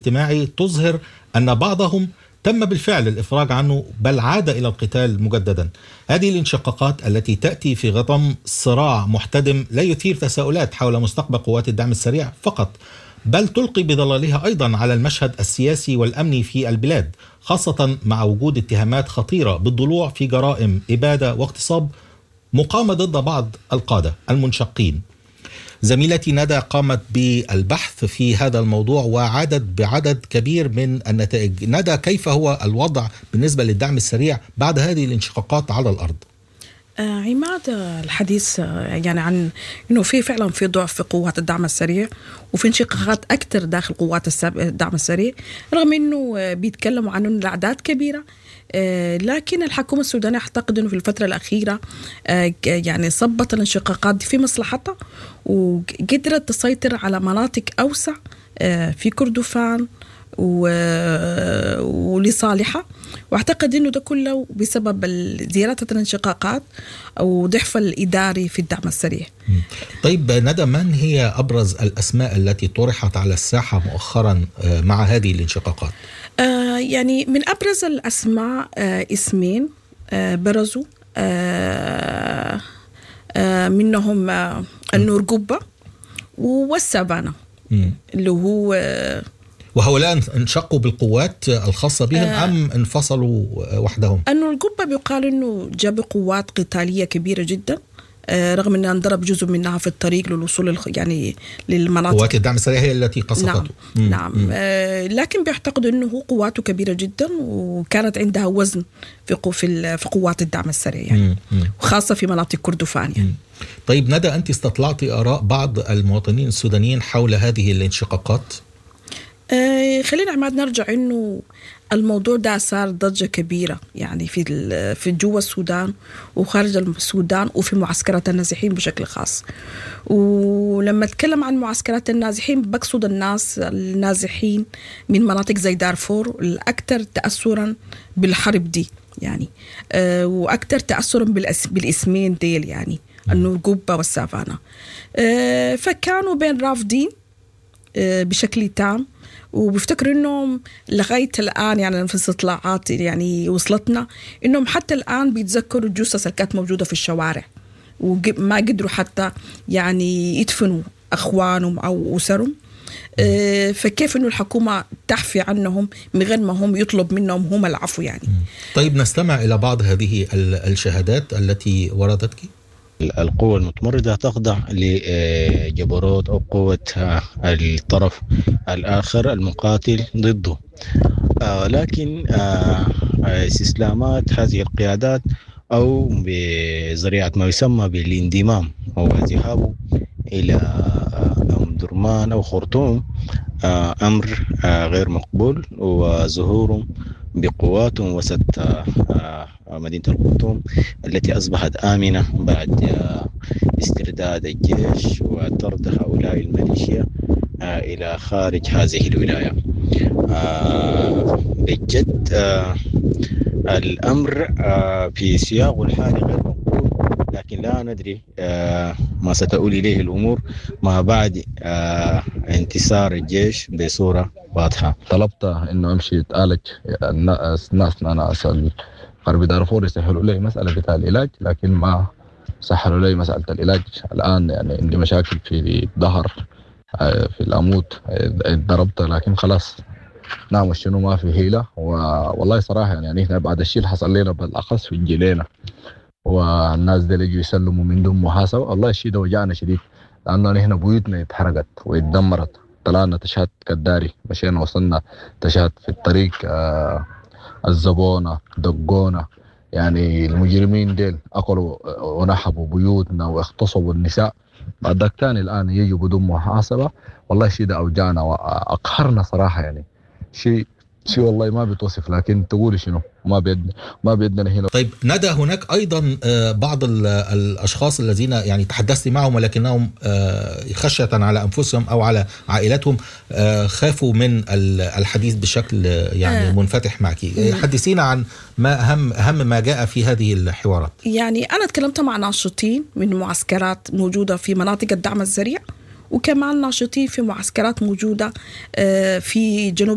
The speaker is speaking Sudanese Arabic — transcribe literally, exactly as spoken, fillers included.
الاجتماعي تظهر أن بعضهم تم بالفعل الإفراج عنه بل عاد إلى القتال مجددا. هذه الانشقاقات التي تأتي في غضم صراع محتدم لا يثير تساؤلات حول مستقبل قوات الدعم السريع فقط، بل تلقي بظلالها أيضا على المشهد السياسي والأمني في البلاد، خاصة مع وجود اتهامات خطيرة بالضلوع في جرائم إبادة واغتصاب مقامة ضد بعض القادة المنشقين. زميلتي ندى قامت بالبحث في هذا الموضوع وعادت بعدد كبير من النتائج. ندى، كيف هو الوضع بالنسبة للدعم السريع بعد هذه الانشقاقات على الأرض؟ آه عماد، الحديث يعني عن انه في فعلا في ضعف في قوات الدعم السريع وفي انشقاقات اكثر داخل قوات الدعم السريع، رغم انه بيتكلموا عن انه الاعداد كبيرة، لكن الحكومة السودانية أعتقد أنه في الفترة الأخيرة يعني صبت الانشقاقات دي في مصلحتها وقدرت تسيطر على مناطق أوسع في كردفان ولصالحها، واعتقد انه ده كله بسبب زيادة الانشقاقات وضعف الاداري في الدعم السريع. طيب ندى، من هي ابرز الاسماء التي طرحت على الساحة مؤخرا مع هذه الانشقاقات؟ آه يعني من ابرز الاسماء آه اسمين آه برزوا، آه آه منهم آه النور قبه والسافانا اللي هو آه وهؤلاء انشقوا بالقوات الخاصة بهم آه أم انفصلوا وحدهم؟ أنه القبة بيقال أنه جاب قوات قتالية كبيرة جدا، آه رغم أنها انضرب جزء منها في الطريق للوصول يعني للمناطق. قوات الدعم السريع هي التي قصفته. نعم, نعم. آه لكن بيعتقدوا أنه قواته كبيرة جدا وكانت عندها وزن في في في قوات الدعم السريع يعني، وخاصة في مناطق كردفان يعني. طيب ندى، أنت استطلعتي آراء بعض المواطنين السودانيين حول هذه الانشقاقات؟ آه خلينا عماد نرجع انه الموضوع ده صار ضجة كبيرة يعني في في جوا السودان وخارج السودان وفي معسكرات النازحين بشكل خاص. ولما اتكلم عن معسكرات النازحين بقصد الناس النازحين من مناطق زي دارفور الأكثر تأثرا بالحرب دي يعني، آه وأكثر تأثرا بالاسمين ديل يعني النور قبة والسافانا. آه فكانوا بين رافضين آه بشكل تام، وبفتكر انهم لغاية الان يعني في استطلاعات يعني وصلتنا انهم حتى الان بيتذكروا الجثث اللي كانت موجودة في الشوارع وما قدروا حتى يعني يدفنوا اخوانهم او اسرهم. فكيف انه الحكومة تحفي عنهم من غير ما هم يطلب منهم هم العفو يعني. طيب نستمع الى بعض هذه الشهادات التي وردتك. القوة المتمردة تخضع لجبروت أو قوة الطرف الآخر المقاتل ضده، لكن استسلامات هذه القيادات أو بذريعة ما يسمى بالانضمام أو ذهابه إلى أم درمان أو خرطوم أمر غير مقبول، وظهورهم بقواتهم وسط مدينة الخرطوم التي أصبحت آمنة بعد استرداد الجيش وطرد هؤلاء الميليشيا إلى خارج هذه الولاية. بجد الأمر في سياقه الحالي غير مقبول، لكن لا ندري ما ستؤول إليه الأمور ما بعد انتصار الجيش بصورة واضحة. طلبت إنه أمشي أتعالج، الناس أنا أسأل غرب دارفور يسهلوا لي مسألة بتاع العلاج، لكن ما سهلوا لي مسألة العلاج. الآن يعني عندي مشاكل في الظهر، في العمود ضربت، لكن خلاص نعم شنو ما في حيلة. والله صراحة يعني احنا بعد الشيء اللي حصل لنا بالأخص في الجلينة والناس دي اللي يسلموا من دون محاسبة، والله الشيء ده وجعنا شديد، لأنه نحن بيوتنا اتحرقت واتدمرت. طلعنا تشهد كداري، مشينا وصلنا تشهد في الطريق، آه الزبونة دقونا، يعني المجرمين ديل أكلوا ونحبوا بيوتنا واغتصبوا النساء. بعد ذاك تاني الآن يجوا بدون محاسبة، والله الشيء ده أوجعنا وأقهرنا صراحة يعني. شيء شيء والله ما بتوصف، لكن تقولي شنو ما بيدنا ما بيدنا هنا. طيب ندى، هناك ايضا بعض الاشخاص الذين يعني تحدثت معهم ولكنهم خشية على انفسهم او على عائلتهم خافوا من الحديث بشكل يعني منفتح معك. حدثينا عن ما اهم اهم ما جاء في هذه الحوارات. يعني انا تكلمت مع ناشطين من معسكرات موجودة في مناطق الدعم السريع، وكمان ناشطين في معسكرات موجودة في جنوب